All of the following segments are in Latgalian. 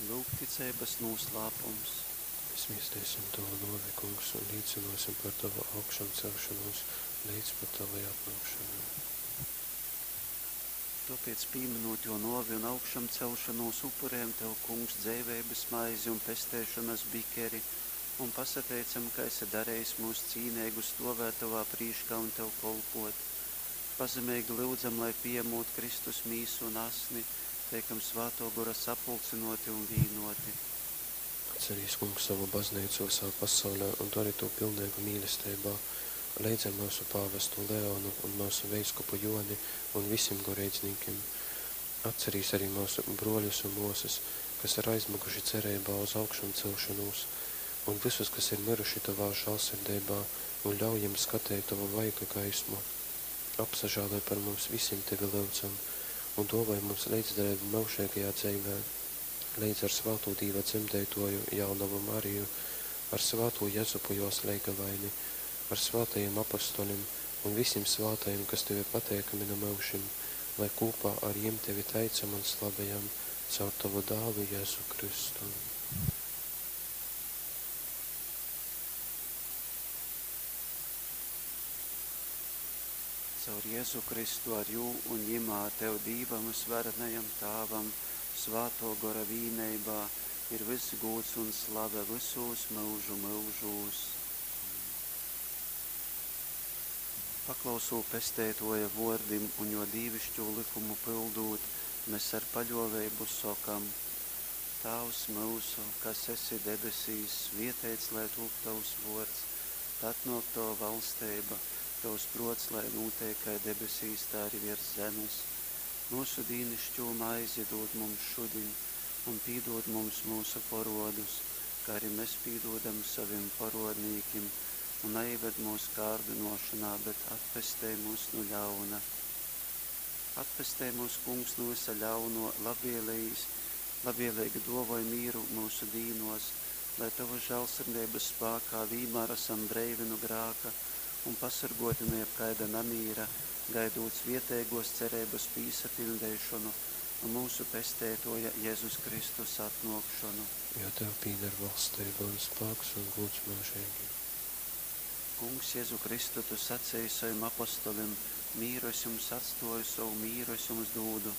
Lūk ticeibas nūslāpums. Mēs viesteisim Tovu nōvi, Kungs, un līcynōsim par Tovu augšamceļšonūs leidz pat Tovai atnōkšonai. Tōpēc, pīmynūt Jō nōvi un augšamceļšonūs, upurejam Tev, Kungs, dzeiveibas maizi un pesteišonas bikeri un pasateicam, ka esi darejis myus cīneigus stōvēt Tovā prīškā un Tev kolpōt. Pazemeigi lyudzam, lai, pījamūt Kristus mīsu un asni, teikam Svātō Gora sapulcynōti un vīnōti. Atcerīs, Kungs, sovu Bazneicu vysā pasaulē un dori tū pilneigu mīlesteibā, leidz ar myusu pāvestu Leonu un myusu veiskupu Jōni un visim goreidznīkim. Atcerīs ari myusu brōļus un mōsas, kas ir aizmyguši cereibā uz augšamceļšonūs, un vysus, kas ir myruši Tovā žālsirdeibā, un ļauj jim skateit Tova vaiga gaismu. Apsažāloj par mums visim, Tevi lyudzam, un dōvoj mums leidzdaleibu myužeigajā dzeivē, leidz ar svātū Dīva dzemdeitōju, jaunovu Mariju, ar svātū Jezupu jōs leigavaini, ar svātajim apostolim un visim svātajim, kas Tev ir pateikami nu myužim, lai kūpā ar jim Tevi teicam un slavejam caur Tovu Dālu Jezu Kristu. Caur Jezu Kristu ar Jū un Jymā Tev, Dīvam vysvarenajam Tāvam, Svātō Gora vīneibā, ir vyss gūds un slave vysūs myužu myužūs. Paklausūt Pesteitōja vōrdim un Jō dīviškū lykumu pyldūt, mes ar paļōveibu sokam: Tāvs myusu, kas esi debesīs, svieteits lai tūp Tovs vōrds, lai atnōk Tova valsteiba, Tovs prōts lai nūteik kai debesīs, tai arī viers zemes. Myusu dīnišķū maizi dūd mums šudiņ, un pīdūd mums myusu porōdus, kā arī mes pīdūdam sovim porōdnīkim, un naīved mūsu kārdynōšonā, bet atpestej mūs nu ļauna. Atpestej mūs, Kungs, nu vysa ļauno, labvēlējīs, labvēlīgi dōvoj mīru myusu dīnōs, lai Tovas žālsirdeibas spākā vīnmār esam breivi nu grāka un pasorgōti nu jebkaida namīra, gaidūt svieteigōs cereibas pīsapiļdeišonu un myusu Pesteitōja Jezus Kristus atnōkšonu. Jo Tev pīder valsteiba un spāks un gūds myužeigi. Kungs, Jezu Kristu, Tu saceji sovim apostolim: Mīru es jums atstōju, sovu mīru es jums dūdu.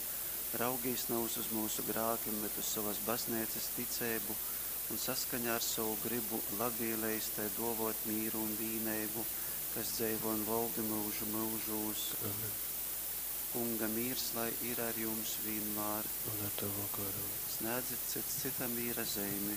Raugīs navys uz myusu grākim, bet uz sovas bazneicas ticeibu un saskaņā ar sovu grybu labvēlējis tai dōvōt mīru un vīneibu, kas dzeivo un voldi myužu myužūs. Amen. Kunga mīrs lai ir ar jums vienmēr. Un ar Tavu garu. Snēdzit cits cytam mīra zeimi.